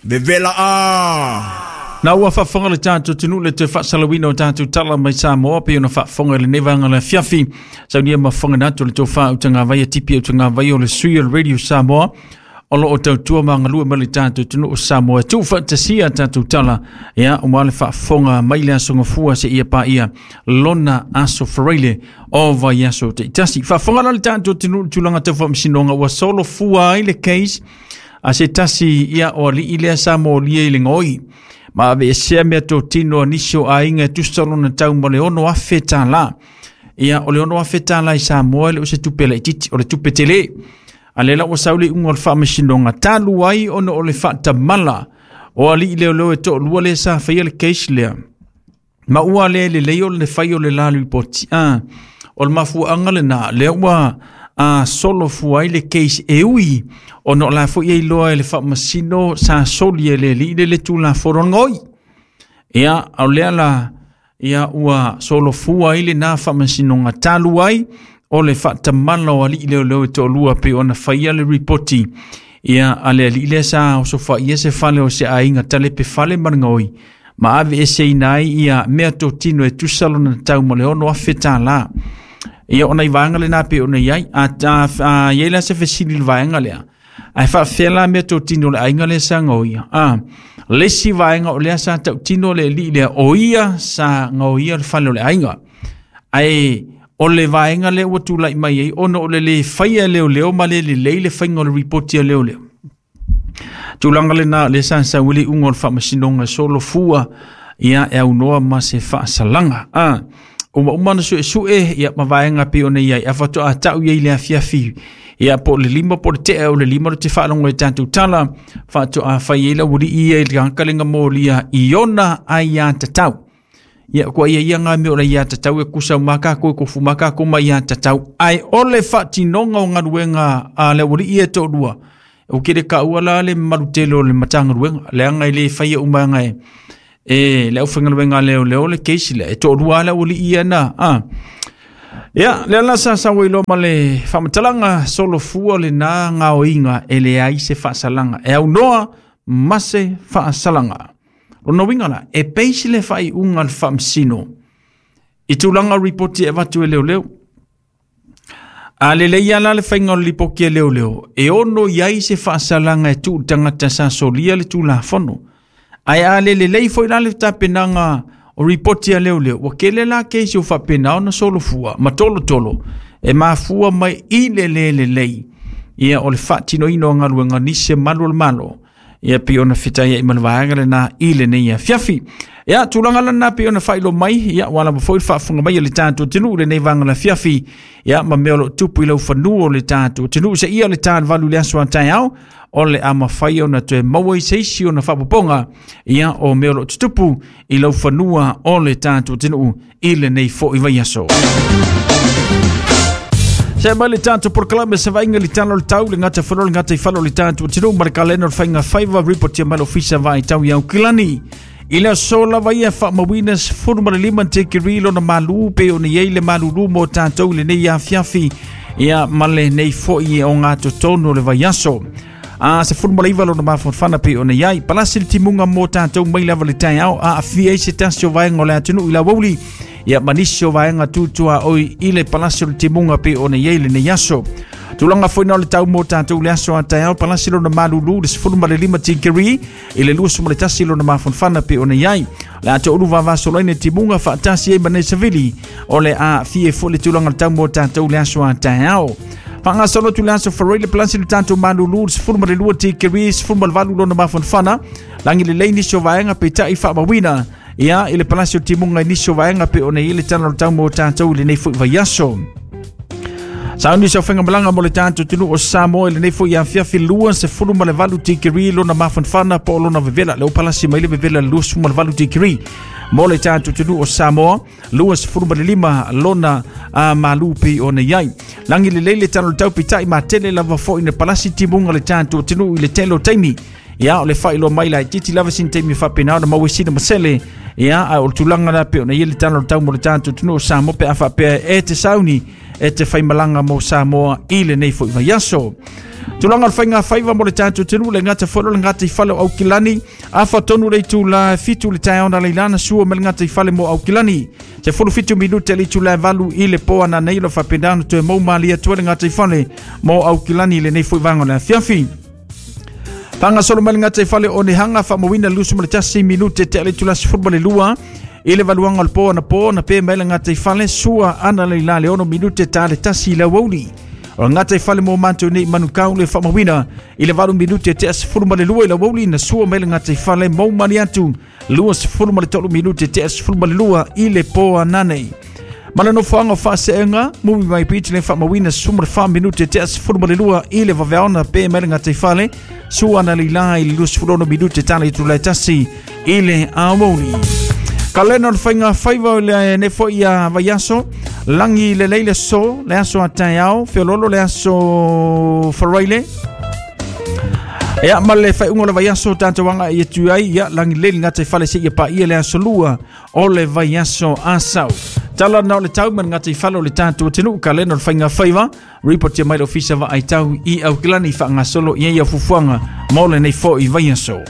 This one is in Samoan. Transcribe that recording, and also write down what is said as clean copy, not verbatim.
Vevela a! Na ua faafofoga le tatou atunuu le toe faasalauina o tatou tala mai Samoa pei ona faafofoga i lenei vaega o le afiafi. Saunia ma fofoga atu le tofa utagavaia tipi utagavaia o le sui o le Radio Samoa o lo o tautua ma galue mai le tatou atunuu o Samoa e tuufaatasia tatou tala ia ua le faafofoga mai le aso Gafua seia paia lona aso Faraile o vaiaso taitasi. Faafofoga la le tatou atunuu i le tulaga tau faamasinoga ua solofua ai le case a se tasi ia o alii lea sa molia i le gaoi ma aveesea meatotino a nisi o aiga e tusa lona tau ma le $6,000. Ia o le $6,000 i Samoa e le o se tupe laitiiti, o le tupe tele. A lea la ua sau le iuga o le faamasinoga talu ai ona o le faatamala o alii leoleo e toalua lea sa faia le case lea. Ma ua le lelei o le fai o le la lipoti. O le mafuaaga lena, lea ua solofua ai le case e ui ona o la foi e iloa e le faamasino sa soli e le alii le le tulafono gaoi. Ia, o lea la, ia ua solofua ai lena faamasinoga talu ai o le faatamala o alii leoleo e toalua pei ona faia le ripoti ia a le alii lea sa osofaia se fale o se aiga talepe fale ma le gaoi ma aveeseina ai ia meatotino e tusa lona tau ma le $6,000. Ia ona i vaega lena pei ona i ai. A i ai la se fesili i le vaega lea, ae faafefea la meatotino o le aiga lea sa gaoia? Le isi vaega o lea sa tautino le alii lea, o ia sa gaoia le fale o le aiga. Ae o le vaega lea ua tulai mai ai ona o le le faia e leoleo ma le lelei le faiga o le ripoti a leoleo. Tulaga lena lea sa sau ai le iuga o le faamasinoga e solofua ia e aunoa ma se faasalaga. Uma uma na suesue ia ma vaega pei ona i ai a faatoa tau i ai le afiafi ia po o le 5 po o le tea o le 5 le te faalogo i tatou tala faatoa fai ai le aualii ia i le tagata le molia i ona aiatatau. Ia kua ia ia ngā mea o le aiatatau e kusa o makako e kofu makako mai aiatatau. Ai o le faatinoga o galuega a le aualii e toalua. O ke le kaua la le marutele o le matagaluega. Leaga e le faia umaga e le aufaigaluega leo leo le case lea. E toalua le aualii ia na. Ia, lea la sa sau ai loa ma le faamatalaga solofua lena gaoiga e leai se faasalaga. E aunoa ma se faasalaga. Lona uiga la, e base le faaiuga a le faamasino i tulaga o ripoti e avatu e leoleo. A lelei lava la le faiga o le lipoti a leoleo, e ono i ai se faasalaga e tuu i le tagata sa solia le tulafono. Ae a le lelei foi la le tapenaga o ripoti a leoleo, ua tele la keisi o faapena ona solofua ma tolotolo e mafua mai i le le lelei ia o le faatinoina o galuega nisi e malu o le Malo. Ia pei ona fetai ai ma le vaega lena i lenei afiafi. Ia tulaga lena pei ona faailoa mai, ia ua lava foi le faafofoga mai a le tatou atunuu i lenei vaega o le afiafi. Ia ma mea o lo o tupu i laufanua o le tatou atunuu seia le ta 8 i le aso a taeao, o le a mafai ona toe maua i se isi ona faapopoga ia o mea o lo o tutupu i laufanua o le tatou atunuu i lenei foi vaiaso. Se mai le tatou polokalame se vaaiga i le tala o le tau, le gata falo, le gata i falo o le tatou atunuu ma le kalena o le faiga faiva ripotia mai le ofisa vaitau i Aukilani. I le aso lava ia faamauina 15 tikiri lona malu pe ona i ai le malulu mo tatou i lenei afiafi ia ma lenei foi o ngā totonu o le vaiaso. A 19 lona mafanafana pe ona i ai. Palasi le timuga mo tatou mai lava le taeao a afia ai se tasi o vaega o le atunuu i Lauauli. Ia ma nisi o vaega tutua oi i le palasi o le timuga pe ona i ai lenei aso. Tulaga foi na o le tau mo tatou le aso a taeao palasi lona malulu le 15 tikiri i le 21 lona mafanafana pe ona i ai. Le ato ulu vavasoloina timuga faatasi ai ma nei savili o le a fie foi le tulaga le tau mo tatou le aso a taeao. Faagasolo atu le aso Faraile palasi le tatou malulu le 12 tikiri 18 lona mafanafana langi lelei nisi o vaega peitai faamauina ia i le palasi o timuga i nisi o vaega pe ona i ai le tala o le tau mo tatou i lenei foi vaiaso. Sauni sa whainga malanga mo le tatou atunuu o Samoa i lenei foi afiafi 28 tikiri lona mafanafana po o lona vevela. Le o palasi mai le vevela 28 tikiri mo le tatou atunuu o Samoa 25 lona malu pei ona i ai. Langi lelei le tala o le tau peitai matele lava foi na palasi timuga le tatou atunuu i le tele o taimi. Ia o le faailoa mai laitiiti lava sina taimi faapena ona maua ai sina masele. Ia a o le tulaga la pei ona i ai le tala o le tau mo le tatou atunuu o Samoa pe a faapea e te sauni e te faimalaga mo Samoa i lenei foi vaiaso. Tulaga o le faigafaiva mo le tatou atunuu le gata foi o le gataifale o Aukilani, afa tonu le itula e 7 i le taeao na leila na sua mai le gataifale mo Aukilani. 17 minute le itula e 8 i le po ananei o lo o faapena ona toe mou malie atu ai le gataifale mo Aukilani i lenei foi vaega o le afiafi. Faagasolo mai le gataifale o Nehanga faamauina 21 minute tea le itula 12 i le valuaga o le po anapo na pe mai le gataifale sua ana le la le 6 minute ta le 1 i le aoauli. O le gataifale mo matou nei Manukau le faamauina i le 8 minute tea 12 i le aoauli na sua mai le gataifale mou mali atu 23 minute tea 12 i le po ananei. Ma le nofoaga o Faaseega, Mumi Mai Beach le faamauina 14 minute tea 12 i le vaveaona pe mai le gataifale sua ana leila i le 26 minute tala i tula e 1 i le aoauli. Kalena o le faiga faiva o le nei foi a vaiaso, lagi lelei le aso, le aso a taeao, feololo le aso Faraile. Ia, ma le faaiuga o le vaiaso tatou agai atu ai, ia, lagi lelei le gataifale seia paia le aso lua o le vaiaso Asau. Tala na o le tau ma le gataifale o le tatou atunuu, kalena o le faiga faiva, reportia mai le ofisa vaai tau i Aukilani faagasolo i ai au fuafuaga mo lenei foi vaiaso.